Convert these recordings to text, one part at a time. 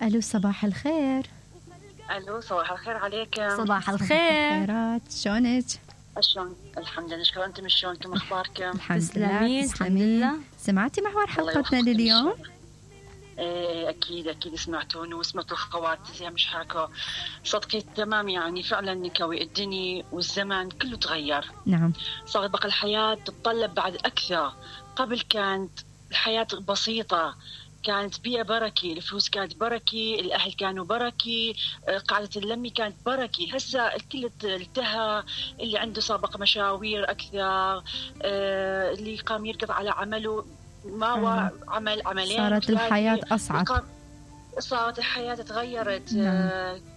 الو صباح الخير. الو صباح الخير عليكم. صباح الخير. خيرات، شلونك؟ شلون؟ الحمد لله نشكر. انتم شلونكم؟ اخباركم؟ الحمد لله. الحمد لله. سمعتي محور حلقتنا لليوم؟ ايه اكيد سمعتون وسمعت الخوات زي مش حكوا صدقي تمام. يعني فعلا نكوي الدنيا والزمن كله تغير. نعم. صارت بقى الحياة تتطلب بعد اكثر. قبل كانت الحياة بسيطة، كانت بيئة بركة، الفلوس كانت بركة، الأهل كانوا بركة، قاعدة اللمي كانت بركة. هسا الكل التهى، اللي عنده سابق مشاوير أكثر، اللي قام يركض على عمله ما عملين. صارت الحياة أصعب. صارت الحياة تغيرت.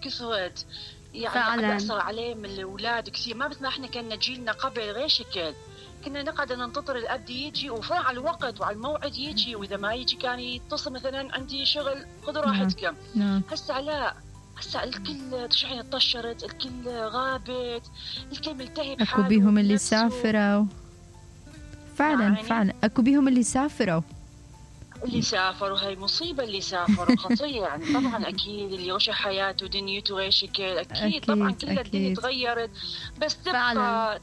كثرت يعني أثر عليه من الأولاد كثير. ما مثل ما احنا كنا جيلنا قبل غير شكل. كنا نقعد ننتظر الأب يجي وفعل على الوقت وعلى الموعد يجي، وإذا ما يجي كان يتصل مثلا عندي شغل خذوا راحتكم. هسا لا، هسا الكل تشعين طشرت، الكل غابت، الكل ملتهي بحاله. أكو بيهم اللي سافروا فعلا يعني فعلا أكو بيهم اللي سافروا هاي مصيبة. اللي سافروا خطية يعني. طبعا أكيد اللي وش حياته ودنيته غير شكل. أكيد طبعا كل الدنيا تغيرت. بس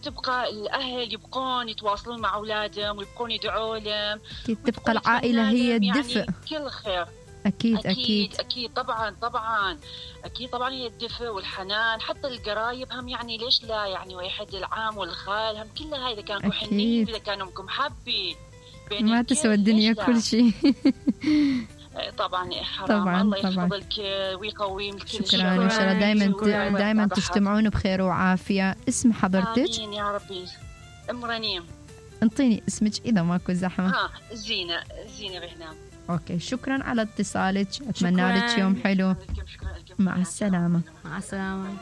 تبقى الأهل يبقون يتواصلون مع أولادهم ويبقون يدعوا لهم. تبقى العائلة هي الدفء. يعني كل خير. أكيد طبعا هي الدفء والحنان. حتى القرايب هم يعني ليش لا يعني، واحد العام والخال هم كلها هاي إذا كانوا حنين، إذا كانوا محبي ما تسوى الدنيا كل شيء. طبعا حرام. الله يحفظك ويقوي الكل. شكرا. إن شاء الله دائما تجتمعون بخير وعافية. اسم حضرتك؟ آمين يا ربي. أم رنيم. انطيني اسمك إذا ماكو زحمة. زينة بهنام. أوكي، شكرا على اتصالك. أتمنى لك يوم حلو. مع السلامة. مع السلامة.